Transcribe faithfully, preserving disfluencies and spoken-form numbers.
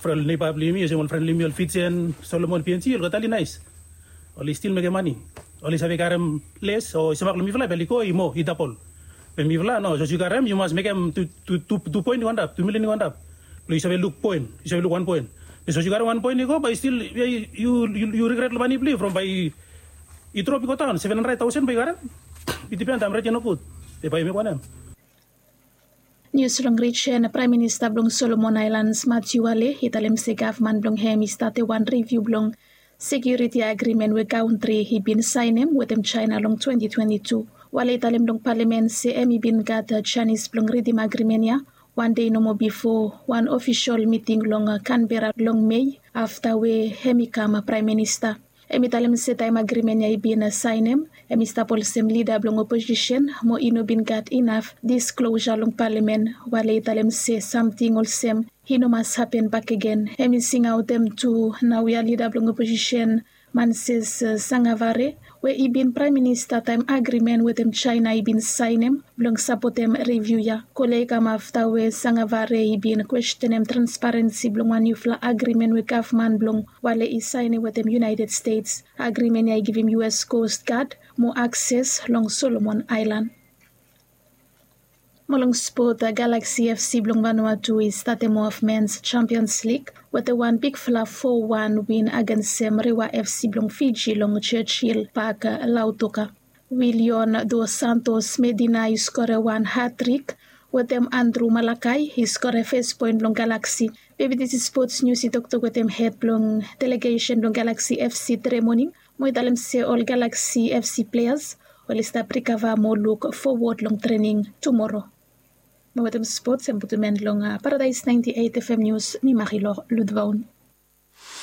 Neba blong yumi olsem ol fren blong yumi ol Fijian, Solomon, P N G, olgeta oli naes. Oli stil mekem mane. Oli save karem les o i save mak long mifala be oli go i moa i dabol. Be mifala no, sapos yu karem yu mas mekem tu poen i go antap, tu milian i go antap. Blong yu save luk poen, yu save luk wan poen. Be sapos yu karem wan poen i go bae stil yu rigret long mane blong yu from bae i drop i go daon seven handred taosen bae yu karem. I dipen taem ret ya nogud. Be bae yu mekem wanem? Nius long rijen. Praem Minista blong Solomon Aelans Matiu Wale i talem se gavman blong hem i start wan riviu blong sekiuriti agrimen we kantri i bin saenem wetem Jaena long twenti twenti tu. Wale i talem long palamen se hem i bin gat janis blong ridim agrimen ya wan dei nomo bifo wan ofisol miting long Kanbera long Mei afta we hem i kam Praem Minista. Hem i talem se taem agrimen ya i bin saenem, hem i stap olsem lida blong oposisen mo i no bin gat inaf disklosa long palamen. Wale i talem se samting olsem i no mas hapen bakegen. Hem i singaotem tu naoia lida blong oposisen Manses Sangavare we i bin Praem Minista taem agrimen wetem Jaena i bin saenem blong sapotem riviu ya. Kole i kam afta we Sangavare i bin kwestenem transparensi blong wan niufala agrimen we gavman blong Wale i saenem wetem United States. Agrimen ya i givim U S Coast Guard mo akses long Solomon Aelan. Mo long spot, Galaxy F C blong Vanuatu i statem of Men's Champions League wetem wan bigfala fo wan win agensem Rewa F C blong Fiji long Churchill Park, Lautoka. Willion Dos Santos Medina i skore wan hatrik wetem Andrew Malakai i skore fes poen blong Galaxy. Bebidisi Spots Nius i toktok wetem hed blong delegesen blong Galaxy F C tude moning mo i talem se ol Galaxy F C pleas oli stap rikava mo luk fowod long trening tumoro. Mo wetem spots hem putum en long Paradaes naenti eit F M Nius, mi Marilor Ludvaun.